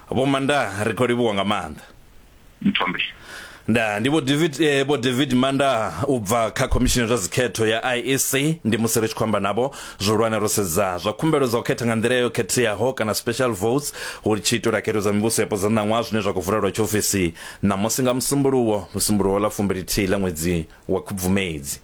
Vho Manda, ri khou livhuwa nga maanḓa. Mthombe. Nda ndi Vho David eh, Vho David Manda u bva kha khomishini ya zwa dzikhetho ya IEC. Ndi musi ri tshi khou amba navho zwihulwane ro sedza zwa khumbelo dza u khetha nga nḓila yo khetheaho kana special votes hu tshi itelwa khetho dza mivhuso yapo dza ṋaṅwaha zwine zwa khou vulelwa tshiofisi ṋamusi nga Musumbuluwo, Musumbuluwo ḽa 21 ḽa ṅwedzi wa Khubvumedzi.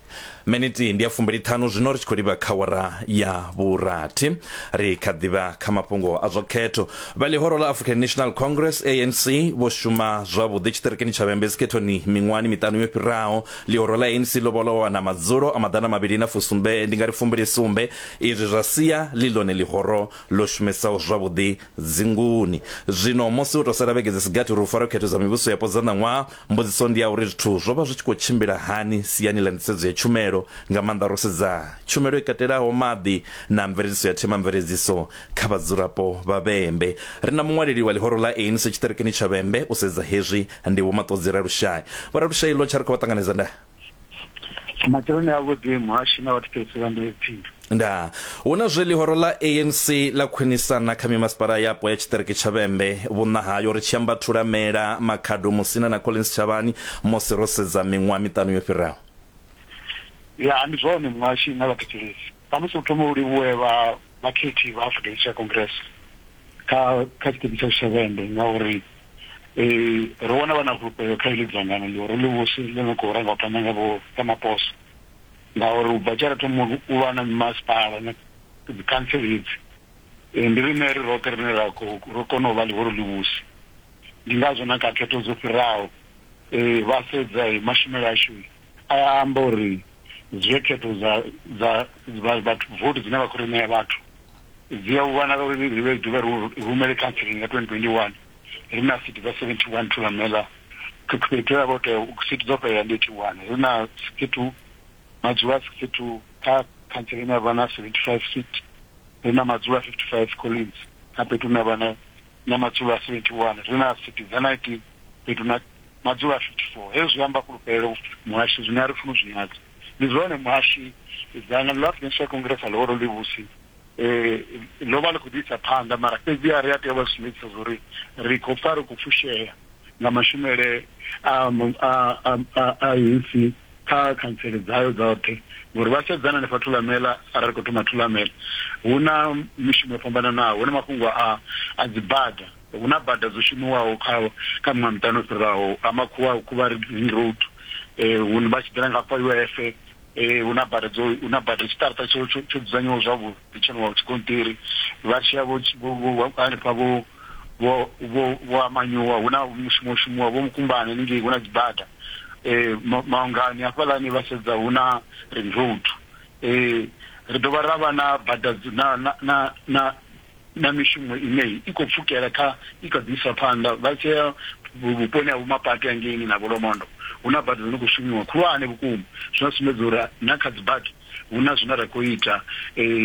Miniti ndi ya 50 zwino ri tshi khou livha kha wara ya vhurathi. Ri kha ḓivha kha mafhungo a zwa khetho. Vha ḽihoro ḽa African National Congress ANC vho shuma zwavhuḓi tshiṱirikini tsha Vhembe dzikhethoni miṅwahani miṱanu yo fhiraho. Ḽihoro ḽa ANC ḽo vha ḽo wana madzulo a maḓana mavhili na fusumbe ndi nga ri fumbili sumbe, izwi zwa sia ḽi ḽone ḽihoro ḽo shumesaho zwavhuḓi dzinguni. Zwino musi ho tou sala vhege dzi si gathi uri hu farwe khetho dza mivhuso yapo dza ṋaṅwaha, Mbudziso ndi ya uri zwithu zwo vha zwi tshi khou tshimbila hani siani ḽa nḓisedzo ya tshumelo, nga maanḓa ro sedza tshumelo i katelaho maḓi na mveledziso ya themamveledziso kha vhadzulapo vha Vhembe. Ri na muṅwaleli wa ḽihoro ḽa ANC tshiṱirikini tsha Vhembe u sedza hezwi, ndi Vho Maṱodzi Ralushai. Vho Ralushai, ḽo tsha ri khou vha ṱanganedza ndaa. Matsheloni avhuḓi muhashi na vhathetshelesi vha Ndebepfini. Ndaa. Hu na zwe ḽihoro ḽa ANC ḽa khwinisana kha mimasipala yapo ya tshiṱiriki tsha Vhembe vhuṋa hayo, ri tshi amba Thulamela, Makhado, Musina na Collins Chavhani musi ro sedza miṅwaha miṱanu yo fhiraho. Ya, ndi zwone muhashi na vhathetshelesi. Khamusi u thome u livhuwe vha vhakhethi vha African National Congress kha kha tshiṱiriki tshashu tsha Vhembe ngauri ro wana vha na fhulufhelo kha iḽi dzangano ḽihoro ḽivhusi ḽi no khou ranga phanḓa nga vho Ramaphosa ngauri u bva tshe ra thoma u vha na mimasipala na dzikhantsele hedzi ndi riṋe ri roṱhe rine ra khou ro kona u vha ḽihoro ḽivhusi. Ndi ngazwo na kha khetho dzo fhiraho vha sedza mashumele ashu a amba uri zwe khetho dza dza vhathu vote dzine vha khou ri ṋea vhathu dzi a vhonala uri ri vhe dovhe ri rumele khanseleni nga 2021 ri na sithi dza 71 Thulamela fhethu ya vho tea sithi dzo fhelela ndi 81 ri na 62 madzulo a 62 kha khantsele ine ya vha na 75 seat ri na madzulo a 55 Collins kha fhethu hune vha na na madzulo a 71 ri na sithi dza 19 fhethu na madzulo a 54 hezwi zwi amba fhulufhelo muhashi zwine a ri funi u zwi nyadza ndi zwone muhashi dzangano ḽa African National Congress a ḽihoro ḽivhusi ḽo vha ḽi khou ḓi isa phanḓa mara fhedziha ri a tea u vha sumbedzisa zwa uri ri khou pfa ri khou fushea nga mashumele a a a ANC kha khantsele dzayo dzoṱhe ngori vha sedzana hanefha Thulamela arali ri khou thoma Thulamela hu na mishumo yo fhambananaho hu na mafhungo a a dzi bada hu na bada dzo shumiwaho kha kha miṅwaha miṱanu yo fhiraho ha makhuwa khuvha ring road hune vha tshi ḓela nga hafha UIF hu na bada dzo hu na bada tshiṱaraṱa tsho tsho tsho dzudzanyiwaho zwavhuḓi tsho no tshigonṱiri vha tshi ya vho hanefha vho vho vho vho Amanyuwa hu na mushumo wo shumiwa vho Mukumbani haningei hu na dzibada Maungani hafhaḽani vha sedza hu na ring road ri dovha ra vha na bada na na na na mishumo ine i khou pfukela kha i kha ḓi isa phanḓa vha tshi ya vhuponi ha Vhomapate hangeini na Vholomondo hu na bada dzo no khou shumiwa khulwane vhukuma zwine zwa sumbedza uri na kha dzi bada hu na zwine ra khou ita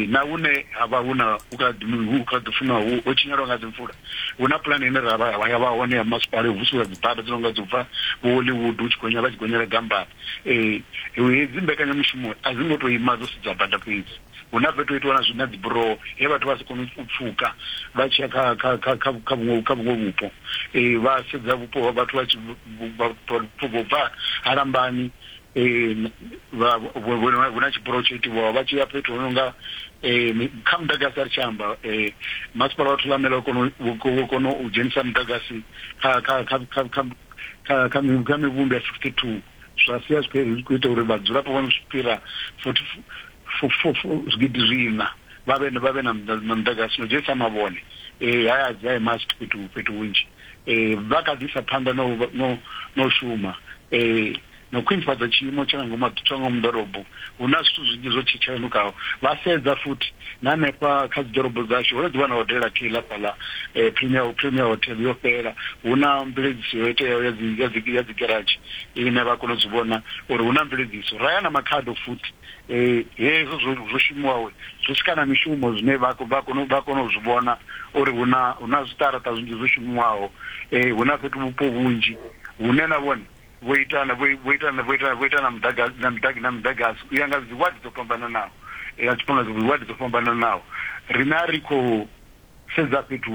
na hune ha vha hu na hu kha hu kha ḓi funa ho tshinyalwa nga dzi mvula hu na pulane ine ra vha ya vha hone ya masipala u vusuludza dzi bada dzi no nga dzi bva vho Hollywood hu tshi gonya vha tshi gonyela Gambani hedzi mbekanyamushumo a dzi ngo to ima dzo sedza bada fhedzi. Hu na fhethu ho itiwa na zwi na dzi buroho he vhathu vha si kone u pfuka vha tshi ya kha kha kha kha kha vhuṅwe kha vhuṅwe vhupo. Vha sedza vhupo ha vhathu vha tshi vho bva ha Lambani vha hu na tshiburoho tsho itiwaho vha tshi ya fhethu hu no nga kha muḓagasi a ri tshi amba masipala wa Thulamela wo kona wo kona u dzhenisa muḓagasi kha kha kha kha kha kha kha mivhundu ya 62 zwa sia zwi khou ita uri vhadzulapo vha no fhira 40 zwigidi zwiṋa vha vhe vha vhe na muḓagasi no dzhenisa mavhone haya dzi high mast fhethu fhethu hunzhi vha kha ḓi isa phanḓa no no no shuma na u khwinifhadza tshiimo tsha nga ngomu tsha ngomu ḓorobo hu na zwithu zwinzhi zwo tshetshenukaho vha sedza futhi na hanefha kha dzi ḓorobo dzashu ho no ḓivha na hodela kheila fhaḽa premier premier hotel yo fhela hu na mveledziso yo iteaho ya dzi ya dzi ya dzi garage ine vha kona u zwi vhona uri hu na mveledziso ra ya na Makhado futhi Hezwo zwo zwo shumiwaho zwi swika na mishumo zwine vha vha kona vha kona u zwi vhona uri hu na hu na zwiṱaraṱa zwinzhi zwo shumiwaho hu na fhethu vhupo vhunzhi hune na vhone vho ita vho ita vho ita vho ita na muḓagasi na muḓagasi na muḓagasi u ya nga dzi wadi dzo fhambananaho ya tshifhinga dzi wadi dzo fhambananaho. Riṋe a ri khou sedza fhethu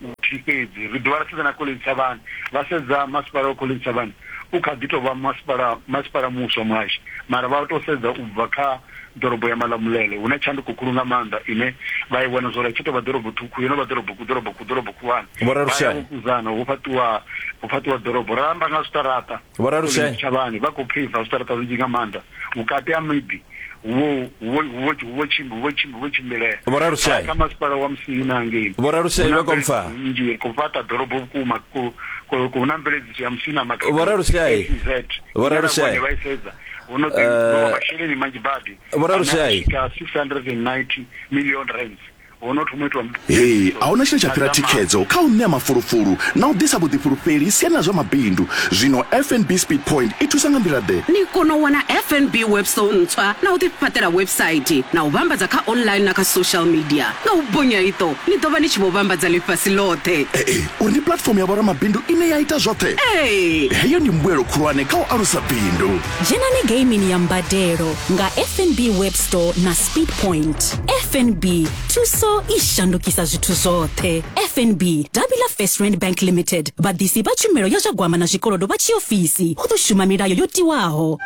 huthihi. fhedzi, ri dovha ra sedza na Collins Chabane. Vha sedza masipala wa Collins Chabane u kha ḓi tou vha masipala masipala muswa muhashi, mara vha tou sedza u bva kha ḓorobo ya Malamulele hu na tshanduko khulu nga maanḓa ine vha i vhona zwori a tshi tou vha ḓorobo ṱhukhu yo no vha ḓorobo ḓorobo ḓorobo khulwane. Vho Vha ya Ralushai. vho kuzana hu fhaṱiwa hu fhaṱiwa ḓorobo. Ra amba nga zwiṱaraṱa, Vho Ralushai. Collins Chabane vha khou pheiva zwiṱaraṱa zwinzhi nga maanḓa vhukati ha miḓi hu vho hu vho hu vho tshimbi hu vho tshimbi hu vho tshimbilea. Vho Ralushai. Kha masipala wa Musina ngei. Vho Ralushai Hu na vha khou mpfa. mveledziso nnzhi ri khou fhaṱa ḓorobo vhukuma ku ku hu na mveledziso ya Musina Vho Makhado Ralushai. SEZ Vho ine na Ralushai. vhone vha i sedza hu no ḓi no vha masheleni manzhi badi Vho ane a Ralushai. swika 690 million rands ho no thoma u itiwa Hei, mveledziso a huna tshine tsha na fhira dza maḓi. thikhedzo kha u ṋea mafulufulu na u ḓisa vhuḓifhulufheli siani ḽa zwa mabindu. Zwino FNB Speed Point i thusa nga nḓila-ḓe? Ni kona u wana FNB Webstore ntswa na u ḓifhaṱela website na u vhambadza kha online na kha social media. Nga u bonya iṱo, ni ḓo vha ni tshi vho vhambadza ḽifhasi ḽoṱhe. Ee, uri ndi platform ya vhoramabindu ine ya ita zwoṱhe. Ee! Heyo ndi mbuelo khulwane kha u alusa bindu. Dzhenani geimini ya mbadelo nga FNB Webstore na Speed Point. FNB, thuso i shandukisa zwithu zwoṱhe. FNB, davhi ḽa First Rand Bank Limited, vhaḓisi vha tshumelo ya zwa gwama na zwikolodo vha tshiofisi. Hu ḓo shuma milayo yo tiwaho.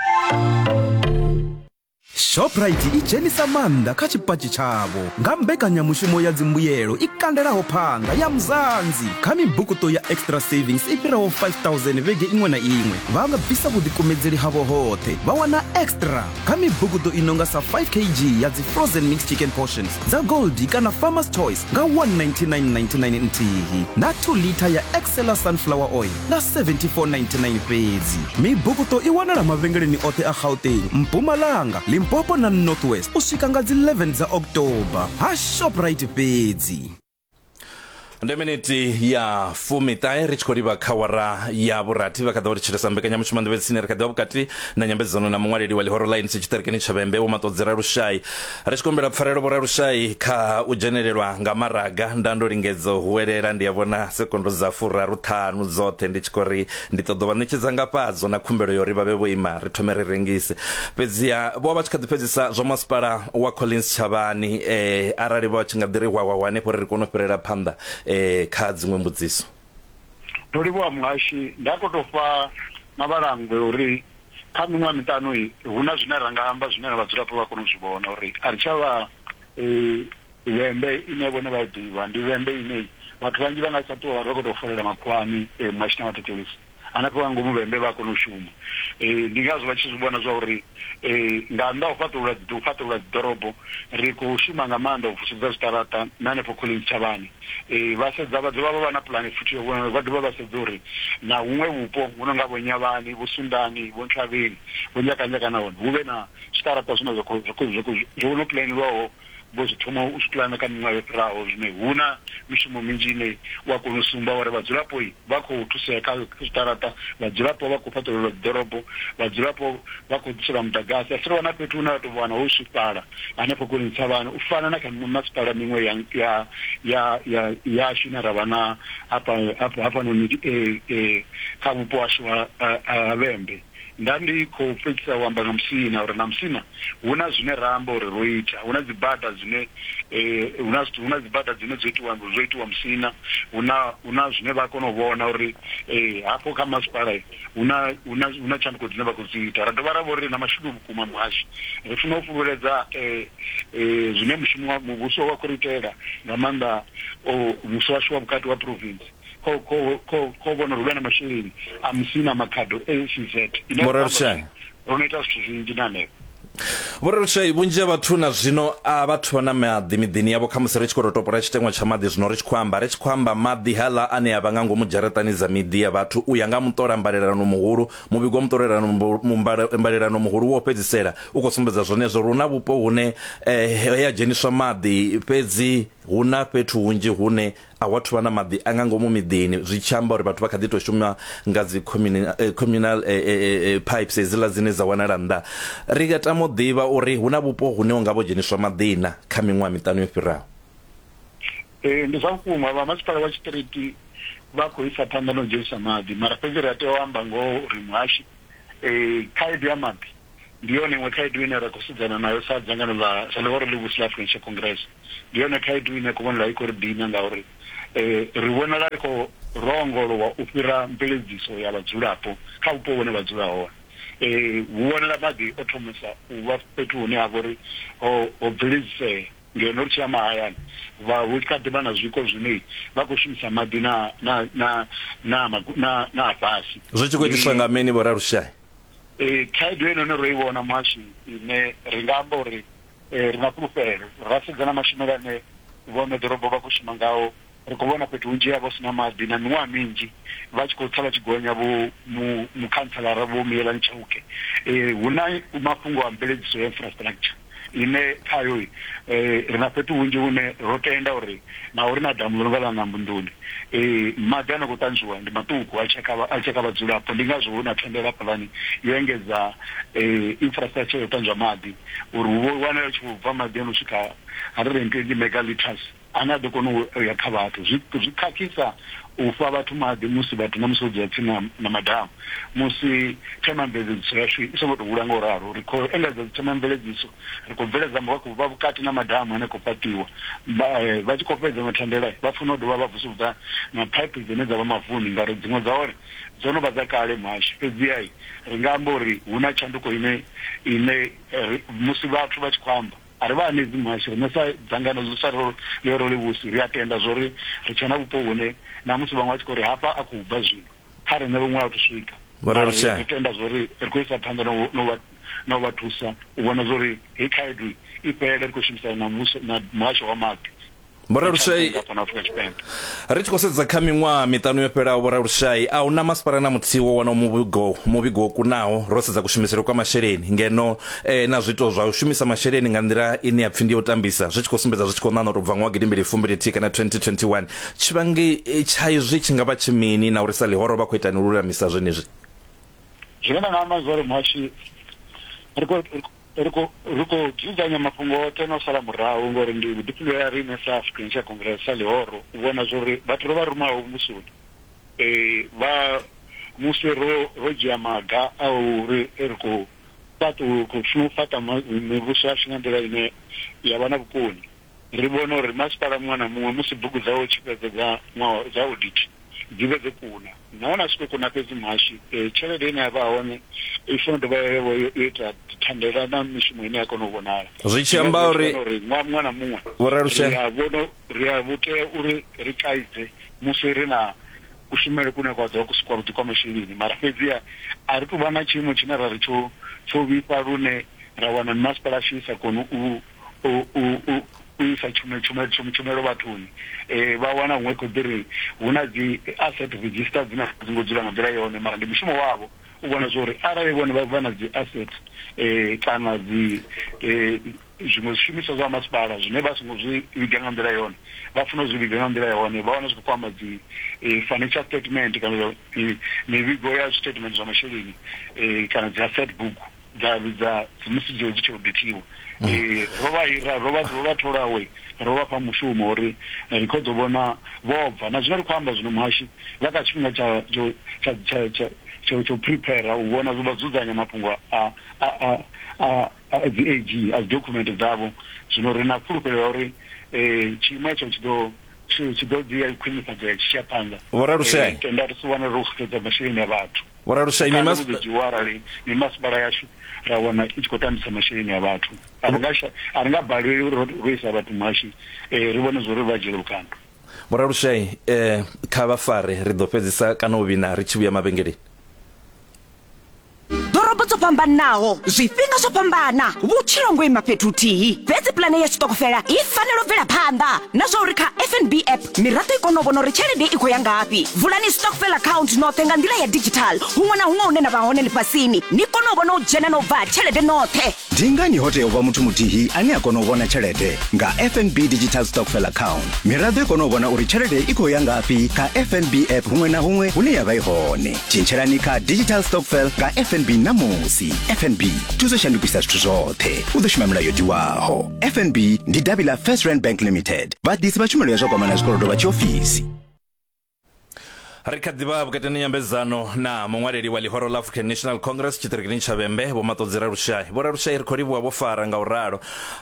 Shoprite i dzhenisa maanḓa kha tshipatshi tshavho nga mbekanyamushumo ya dzimbuyelo i kandelaho phanḓa ya Mzansi kha mibukuṱo ya Extra Savings i fhiraho 5000 vhege iṅwe na iṅwe. Vha nga bvisa vhuḓikumedzeli havho hoṱhe vha wana extra kha mibukuṱo i no nga sa 5 kg ya dzi frozen mixed chicken portions dza Goldie kana Farmer's Choice nga 199.99 nthihi na 2 litha ya Excella sunflower oil nga 74.99 fhedzi. Mibukuṱo i wanala mavhengeleni oṱhe a Gauteng, Mpumalanga, Limpopo na North West u swika nga dzi 11 dza October. Ha Shoprite fhedzi. Ndi miniti ya fumiṱahe ri tshi khou livha kha wara ya vhurathi vha kha ḓi vha ri tshilesa mbekanyamushumo nḓevhe tsini ri kha ḓi vha vhukati na nyambedzano na muṅwaleli wa ḽihoro ḽa ANC tshiṱirikini tsha Vhembe Vho Maṱodzi Ralushai. Ri tshi khou humbela pfarelo Vho Ralushai kha u dzhenelelwa nga maraga nda ndo lingedza u huwelela ndi a vhona sekondo dza furaru ṱhanu dzoṱhe ndi tshi khou ri ndi ṱoḓa u vha ṋetshedza ngafhadzo na khumbelo ya uri vha vhe vho ima ri thome ri rengise. Fhedziha vho vha vha tshi kha ḓi fhedzisa zwa masipala wa Collins Chavhani eh, arali vha tshi nga ḓi ri hwahwahwa hanefho uri ri kone u fhirela phanḓa eh, kha dziṅwe mbudziso. Ndo livhuwa muhashi, nda khou tou fha mavhalangwe uri kha miṅwaha miṱanu i hu na zwine ra nga amba zwine na vhadzulapo vha kona u zwi vhona uri a ri tsha vha Vhembe ine vhone vha i ḓivha ndi Vhembe ine vhathu vhanzhi vha nga tsha ṱuwa vha khou tou folela makhuwani muhashini wa thetshelesi hanefho nga ngomu Vhembe vha a kona u shuma. Ndi ngazwo vha tshi zwi vhona zwa uri nga nnḓa ha u fhaṱulula u fhaṱulula dzi ḓorobo ri khou shuma nga maanḓa u vusuludza zwiṱaraṱa na hanefho Collins Chavhane. Vha sedza vha dovha vha vha na pulane futhi ya vhona vha dovha vha sedza uri na huṅwe vhupo hu no nga vho Nyavhani, vho Sundani, vho Nthavheni, vho Nyakanzhaka na hone hu vhe na zwiṱaraṱa zwine zwa khou zwo no pulanelwaho vho zwi thoma u zwi pulana kha miṅwaha yo fhiraho. Zwino hu na mishumo minzhi ine wa kona u sumba uri vhadzulapo vha khou thusea kha zwiṱaraṱa, vhadzulapo vha khou fhaṱulelwa dziḓorobo, vhadzulapo vha khou ḓiselwa muḓagasi. A si ri wana fhethu hune ra tou wana ho swifhala hanefho kule Ntshavhani u fana na kha mimasipala miṅwe ya ya ya ya yashu ine ra vha na hafha hafha hafhanoni kha vhupo hashu ha ha Vhembe. Nda ndi khou fhedzisa u amba nga Musina uri na Musina hu na zwine ra amba uri ro ita, hu na dzibada dzine hu na hu na dzibada dzine dzo itiwa zwo itiwa Musina, hu na hu na zwine vha kona u vhona uri hafho kha masipala hu na hu na hu na tshanduko dzine vha khou dzi ita. Ra dovha ra vha uri ri na mashudu vhukuma muhashi, ri funa u fhululedza zwine mushumo wa muvhuso wa khou ri itela nga maanḓa muvhuso washu wa vhukati wa province. Kho kho kho kho vhona uri hu vhe na masheleni a Musina Makhado ACZ ine Vho Ralushai. ro no ita zwithu zwinzhi na hanefho. Vho Ralushai, vhunzhi ha vhathu na zwino a vhathu vha na maḓi miḓini yavho khamusi ri tshi khou tou topola tshiteṅwa tsha maḓi zwino ri tshi khou amba ri tshi khou amba maḓi haḽa ane a vha nga ngomu dzharaṱani dza miḓi ya vhathu u ya nga muṱola mbalelano muhulu muvhigo wa muṱolelano mbalelano muhulu wo fhedzisela u khou sumbedza zwenezwo uri hu na vhupo hune he ha dzheniswa maḓi fhedzi hu na fhethu hunzhi hune A hu athu vha na maḓi a nga ngomu miḓini, zwi tshi amba uri vhathu vha kha ḓi tou shuma nga dzi communal pipes hedziḽa dzine dza wanala nnḓa. Ri nga tama u ḓivha uri hu na vhupo hune hu nga vho dzheniswa maḓi na kha miṅwaha miṱanu yo fhiraho? Ee, ndi zwa vhukuma, vha masipala wa tshiṱiriki vha khou isa phanḓa na u dzhenisa maḓi, mara fhedzi ri a tea u amba ngoho uri muhashi khaedu ya maḓi ndi yone iṅwe khaedu ine ra khou sedzana nayo sa dzangano ḽa sa ḽihoro ḽivhusi ḽa African National Congress. Ndi yone khaedu ine ya khou vhonala i khou ri dina ngauri Ri vhonala ri khou ro ongolowa u fhira mveledziso ya vhadzulapo kha vhupo vhune vha dzula hone. Hu vhonala maḓi o thomesa u vha fhethu hune ha vha uri ho ho bveledzisea ngeno ri tshi ya mahayani vha hu kha ḓi vha na zwiko zwine vha khou shumisa maḓi na na na na na na fhasi. Zwi tshi khou itiswa nga mini Vho Ralushai? Khaedu heinoni ro i vhona muhashi ine ri nga amba uri ri na fhulufhelo ra sedza na mashumele ane vhoṋe ḓorobo vha khou shuma ngao ri khou vhona fhethu hunzhi ha vha hu si na maḓi na miṅwaha minzhi vha tshi khou tsa vha tshi gonya vho mukhantselara vho Miyelani Chauke. Hu na mafhungo a mveledziso ya infrastructure ine khayo ri na fhethu hunzhi hune ro tenda uri naho ri na damu ḽo no nga ḽa Nambunduni maḓi a no khou ṱanzwiwa ndi maṱuku a tshi a tshi kha vhadzulapo ndi ngazwo hu na thandela hafhaḽani yo engedza infrastructure ya u ṱanzwa maḓi uri hu vho wanala hu tshi khou bva maḓi a no swika 120 mega litres ane a ḓo kona u ya kha vhathu. Zwi zwi khakhisa u fha vhathu maḓi musi vhathu na musi vho dzula tsini na, na madamu musi themamveledziso yashu i songo tou hula nga u ralo. Ri khou engedza dzithemamveledziso, ri khou bveledza vha vhukati na madamu ane a khou fhaṱiwa. Vha vha tshi khou fhedza mathandela vha funa u dovha vha vusuludza na phaiphi dzine dza vha mavuni ngauri dziṅwe dza hone dzo no vha dza kale muhasho. Fhedziha ri nga amba uri hu na tshanduko ine ine musi vhathu vha tshi khou amba A ri vha hanedzi muhasho, riṋe sa dzangano ḽi sa ḽihoro ḽivhusi ri a tenda zwa uri ri tshe na vhupo hune na musi vhaṅwe vha tshi khou ri hafha a khou bva zwino, kha riṋe vhuṅwe a thu swika. Vho Mara ri Ralushai. ri tenda zwa uri ri khou isa phanḓa na u na u vha na u vha thusa u vhona zwa uri heyi khaedu i fhele ri khou shumisana na muvhuso na muhasho wa maḓi. Vho Ralushai, fhano Afrika Tshipembe. Ri tshi khou sedza kha miṅwaha miṱanu yo fhelaho, Vho Ralushai, a hu na masipala na muthihi wo wanaho muvhigo muvhigo wo kunaho ro sedza kushumisele kwa masheleni ngeno eh, na zwiito zwa u shumisa masheleni nga nḓila ine ya pfi ndi ya u tambisa zwi tshi khou sumbedza zwi tshi khou ṋaṋa u tou bva ṅwaha gidimbili fumbili thihi kana 2021. Tshivhangi eh, tsha izwi tshi nga vha tshi mini na uri sa ḽihoro vha khou itani u lulamisa zwenezwi? Zwine nda nga amba zwa uri muhashi ri khou Ri khou ri khou dzudzanya mafhungo oṱhe na u sala murahu ngori ndi vhuḓifhinduleli ha riṋe sa African National Congress sa ḽihoro u vhona zwori vhathu ro vha rumaho muvhusoni vha musi ro ro dzhia maga a uri ri khou fhaṱa u khou funa u fhaṱa mivhuso yashu nga nḓila ine ya vha na vhukoni ri vhone uri masipala muṅwe na muṅwe musi bugu dzawe tshi fhedza dza ṅwaha dza audit dzi vhe dzo kuna nahone a si tou kuna fhedzi muhashi tshelede ine ya vha hone i funa u dovha ya vha yo ita thandela na mishumo ine ya kona u vhonala. Zwi tshi amba uri uri ṅwaha muṅwe na muṅwe Vho Ralushe ri a vhona ri a vhu tea uri ri kaidze musi ri na kushumele kune kwa ḓovha kusi kwavhuḓi kwa masheleni mara fhedziha a ri tou vha na tshiimo tshine ra ri tsho tsho vhifha lune ra wana mimasipala yashu i sa koni u u u u isa tshumelo tshumelo tshumelo vhathuni vha wana huṅwe khou ḓi ri hu na dzi asset register dzine a dzi ngo dzula nga nḓila yone mara ndi mushumo wavho u vhona zwa uri arali vhone vha vha na dzi asset kana dzi zwiṅwe zwishumiswa zwa masipala zwine vha songo zwi vhiga nga nḓila yone vha funa u zwi vhiga nga nḓila yone vha wana zwi khou kwama dzi financial statement kana mivhigo ya statement zwa masheleni kana dzi asset book dza dza musi dzo dzi tshi audithiwa ro vha hira ro vha ro vha thola we ro vha fha mushumo uri ri khou ḓo vhona vho bva na zwino ri khou amba zwino muhashi vha kha tshifhinga tsha tsho tsha tsha tsha tsho tsho prepare u vhona vha dzudzanya mafhungo a a a a dzi AG a dzi document dzavho zwino ri na fhulufhelo ya uri tshiimo hetsho tshi ḓo tshi ḓo ḓi ya khwinifhadzea tshi tshi ya phanḓa Vho Ralushe tenda ri si wane ro xedza masheleni a vhathu. Vho Ralushe Vhukando vhu ḓo dzhiiwa arali mimasipala yashu ra wana i tshi khou tambisa masheleni a vhathu. A ri nga a ri nga balelwi uri ro isa vhathu muhashi ri vhone zwa uri vha dzhiele vhukando. Vho Ralushe kha vha fare ri ḓo fhedzisa kana u vhina ri tshi vhuya mavhengeleni. Ḓorobo dzo fhambanaho, zwifhinga zwo fhambana, vhutshilo ngo ima fhethu huthihi. Fhedzi pulane ya tshiṱokofela i fanela u bvela phanḓa na zwa uri kha FNB app miraḓo i kone u vhona uri tshelede i khou ya ngafhi. Vulani stokvel account noṱhe nga nḓila ya digital huṅwe na huṅwe hune na vha hone ḽifhasini, ni kone u vhona u dzhena na u bva ha tshelede noṱhe. Ndi ngani ho tea u vha muthu muthihi ane a kona u vhona tshelede? Nga FNB Digital Stokvel Account, miraḓo i kona u vhona uri tshelede i khou ya ngafhi kha FNB app huṅwe na huṅwe hune ya vha i hone. Tshintshelani kha Digital Stokvel nga FNB ṋamusi. FNB, thuso shandukisa zwithu zwoṱhe. U ḓo shuma milayo yo tiwaho. FNB ndi davhi ḽa First Rand Bank Limited. Vhaḓisi vha tshumelo ya zwa kwamana zwikolodo vha tshiofisi. Ri kha ḓivha vhukati na nyambedzano na muṅwaleli wa ḽihoro ḽa African National Congress tshiṱirikini tsha Vhembe, Vho Maṱodzi Ralushai. Vho Ralushai, ri khou livhuwa vho fara nga u ralo.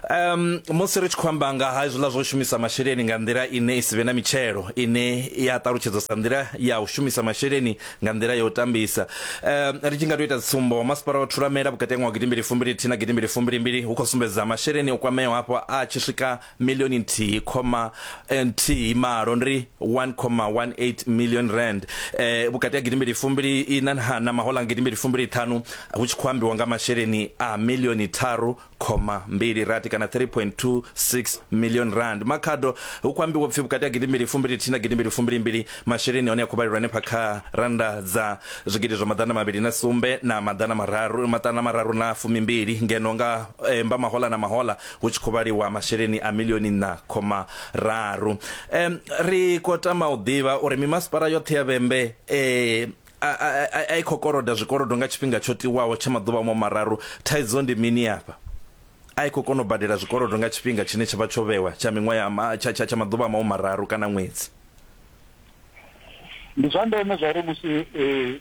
Um, musi ri tshi khou amba nga ha hezwiḽa zwo shumisa masheleni nga nḓila ine i si vhe na mitshelo, ine ya ṱalutshedzwa sa nḓila ya u shumisa masheleni nga nḓila ya u tambisa. Um, ri tshi nga tou ita tsumbo, masipala wa Thulamela vhukati ha ṅwaha wa gidimbili fumbili thihi na gidimbili fumbili mbili hu khou sumbedza masheleni o kwameaho hafho a tshi swika milioni nthihi khoma nthihi malo ndi 1,18 million rand eh, vhukati ha gidimbili fumbili ina na mahola nga gidimbili fumbili ṱhanu hu tshi khou ambiwa nga masheleni a milioni tharu khoma mbili rathi kana 3.26 million rand. Makhado hu khou ambiwa pfi vhukati ha gidimbili fumbili thihi na gidimbili fumbili mbili masheleni hone a khou vhalelwa hanefha kha randa dza zwigidi zwa maḓana mavhili na sumbe na maḓana mararu maṱana mararu na fumimbili ngeno nga eh, mba mahola na mahola hu tshi khou vhaliwa masheleni a milioni nṋa khoma raru. Um, ri khou tama u ḓivha uri mimasipala yoṱhe ya Vhembe eh, a, a, a i khou koloda zwikolodo nga tshifhinga tsho tiwaho tsha maḓuvha mo mararu. Thaidzo ndi mini afha? A i khou kona u badela zwikolodo nga tshifhinga tshine tsha vha tsho vhewa tsha miṅwaha ya tsha, tsha, tsha maḓuvha maho mararu kana ṅwedzi. Ndi zwa ndeme zwa uri musi eh,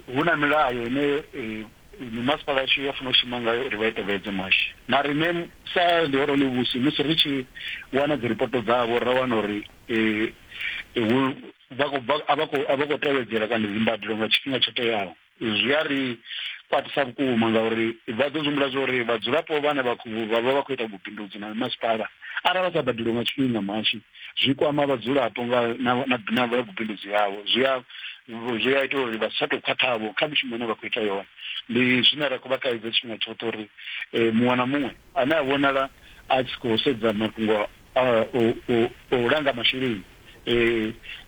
hu na milayo ine eh, mimasipala yashu ya funa u shuma ngayo uri vha i tevhedze muhashi. Na riṋe sa ḽihoro ḽivhusi musi ri tshi wana dziripoto dzavho ra wana uri eh, hu vha khou bva a vha khou a vha khou tevhedzela kana dzimbadelo nga tshifhinga tsho teaho zwi a ri kwatisa vhukuma ngauri vha ḓo zwi humbula zwa uri vhadzulapo vhane vha khou vha vha vha khou ita vhubindudzi na masipala arali vha sa badeliwe nga tshifhinga muhashi zwi kwama vhadzulapo nga na na na vhubindudzi havho zwi a zwi a ita uri vha si tsha tou khwaṱhavho kha mishumo ine vha khou ita yone. Ndi zwine ra khou vha kaidza tshifhinga tshoṱhe uri muṅwe na muṅwe ane a vhonala a tshi khou sedza mafhungo a u langa masheleni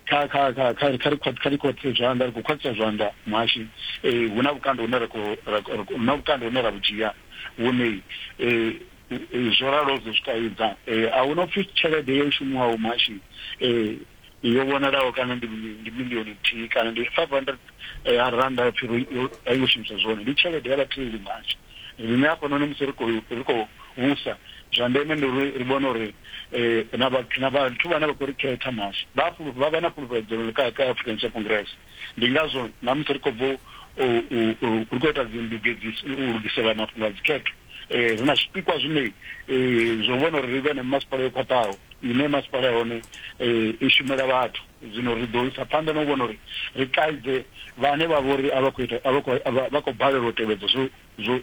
kha kha kha kha kha ri kha ri khwaṱhise zwanḓa ri khou khwaṱhisa zwanḓa muhashi hu na vhukando hune ra khou hu na vhukando hune ra vhu dzhia vhune zwo ralo zwo zwi kaidza a hu na upfhi tshelede yo shumiwaho muhashi yo vhonalaho kana ndi ndi milioni nthihi kana ndi 500 randa pfhi a yo shumiswa zwone ndi tshelede ya vhatheli muhashi. Riṋe hafhanoni musi ri khou ri khou vhusa, zwa ndeme ndi uri ri vhone uri na vhathu na vhathu vhane vha khou ri khetha muhasho vha vha vha na fhulufhedzelo kha kha African National Congress. Ndi ngazwo na musi ri khou bva u u ri khou ita dzi ndugedziso u lugisela mafhungo a dzikhetho ri na zwipikwa zwine zwo vhona uri ri vhe na masipala yo khwaṱhaho ine masipala ya hone i shumela vhathu. Zwino ri ḓo isa phanḓa na u vhona uri ri kaidze vhane vha vha uri a vha khou ita a vha khou vha khou balelwa u tevhedza zwo zwo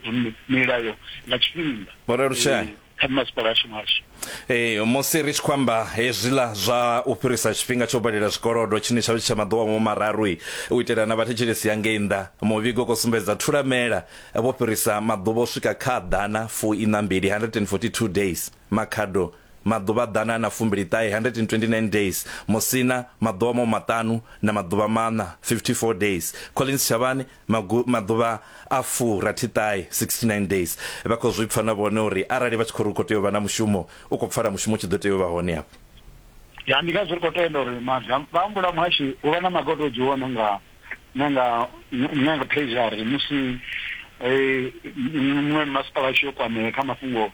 milayo nga tshifhinga. Vho Ralushai. Kha masipala ashu muhasho. Ee, musi ri tshi khou amba hezwiḽa zwa u fhirisa tshifhinga tsha u badela zwikolodo tshine tsha vha tshi tsha maḓuvha mo mararu u itela na vhathetshelesi ya ngei nnḓa, muvhigo u khou sumbedza Thulamela vho fhirisa maḓuvha u swika kha ḓana fu iṋa mbili, 142 days, Makhado maḓuvha ḓana na fumbili ṱahe, 129 days, Musina maḓuvha mahu maṱanu na maḓuvha maṋa, 54 days, Collins Chavhani magu maḓuvha a fu rathi ṱahe, 69 days. Vha khou zwi pfa na vhone uri arali vha tshi khou ri hu khou tea u vha na mushumo, u khou pfala mushumo u tshi ḓo tea u vha hone afho. Ya, ndi ngazwo ri khou tenda uri maga, vha humbula muhashi hu vha na maga o tou dzhiwa na nga na nga na nga treasury musi muṅwe masipala a tshi yo kwamea kha mafhungo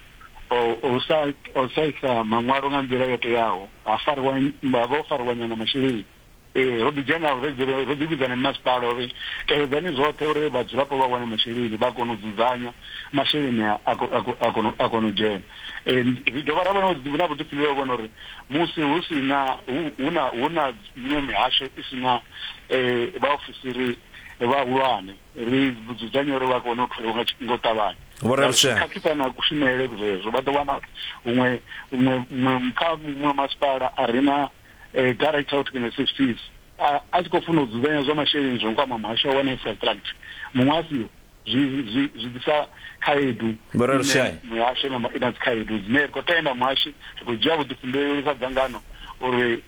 o sa o sa isa maṅwalo nga nḓila yo teaho ha fariwa vha vho fariwa nyana masheleni. Ee, ro ḓi dzhena ro ḓi vhidza na masipala uri tevhedzani zwoṱhe uri vhadzulapo vha wane masheleni vha kone u dzudzanya masheleni a a kone u dzhena. Ri dovha ra vha na vhuḓifhinduleli ha u vhona uri musi hu si na hu na hu na miṅwe mihasho i si na vhaofisiri vhahulwane ri dzudzanye uri vha kone u tholiwa nga u ṱavhanya. Vho Ralusea. Khakhisa na kushumele zwezwo vha ḓo wana huṅwe huṅwe kha muṅwe masipala a re na director of technical services a tshi khou funa u dzudzanya zwa masheleni zwo kwama muhasho wa infrastructure muṅwe a siho zwi zwi zwi ḓisa khaedu Vho Ralusea. Muhasho i na dzikhaedu dzine ri khou tenda muhashi ri khou dzhia vhuḓifhinduleli sa dzangano uri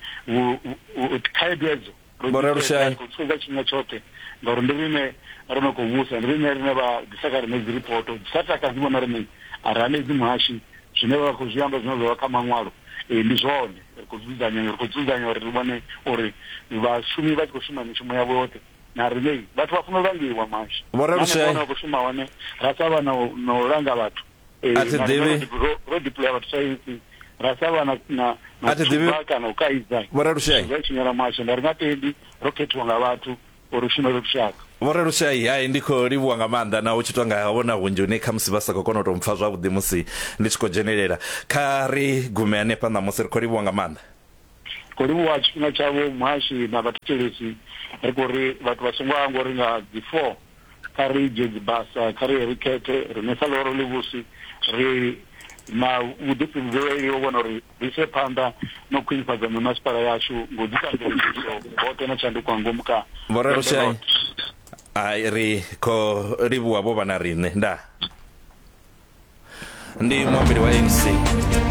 khaedu edzo Vho Ralusea. Ri khou sedza tshifhinga tshoṱhe ngauri ndi riṋe ro no khou vhusa ndi riṋe rine vha ḓisa kha riṋe dzi ripoto dzi sa takadzi vhona riṋe a ri hanedzi muhashi zwine vha khou zwi amba zwine zwa vha kha maṅwalo ee ndi zwone ri khou dzudzanya ri khou dzudzanya uri ri vhone uri vhashumi vha tshi khou shuma mishumo yavho yoṱhe na riṋe vhathu vha funa u langiwa muhashi Vho Ralusea. na vha khou shuma hone ra sa vha na u langa vhathu A thi na riṋe ḓivhi. ro deploya vhathu sa ANC. Ra sa vha na na na A thi ḓivhi- thuba kana u kaidza. Vho Ralushai. Zwi a tshinyala muhasho nda ri nga tendi ro khethiwa nga vhathu uri ri shumele lushaka. Vho Ralushai, hai ndi khou livhuwa nga maanḓa na u tshi tonga vhona hunzhi hune khamusi vha sa khou kona u tou mpfa zwavhuḓi musi ndi tshi khou dzhenelela. Kha ri gume hanefha ṋamusi ri khou livhuwa nga maanḓa. Khou livhuwa tshifhinga tshavho muhashi na vhathetshelesi. Ri khou ri vhathu vha songo hangwa uri nga dzi 4 kha ri dzhie dzibasa, kha ri ye ri khethe. Riṋe sa ḽihoro ḽivhusi ri na vhuḓifhinduleli ho vhona uri ri ise phanḓa na u khwinifhadza mimasipala yashu nga u ḓisa mveledziso hoṱhe na tshanduko nga ngomu kha Vho Vhembe Ralushai, ḽoṱhe. hai ri khou livhuwa vho vha na riṋe. Ndaa. Ndi muambeli wa ANC.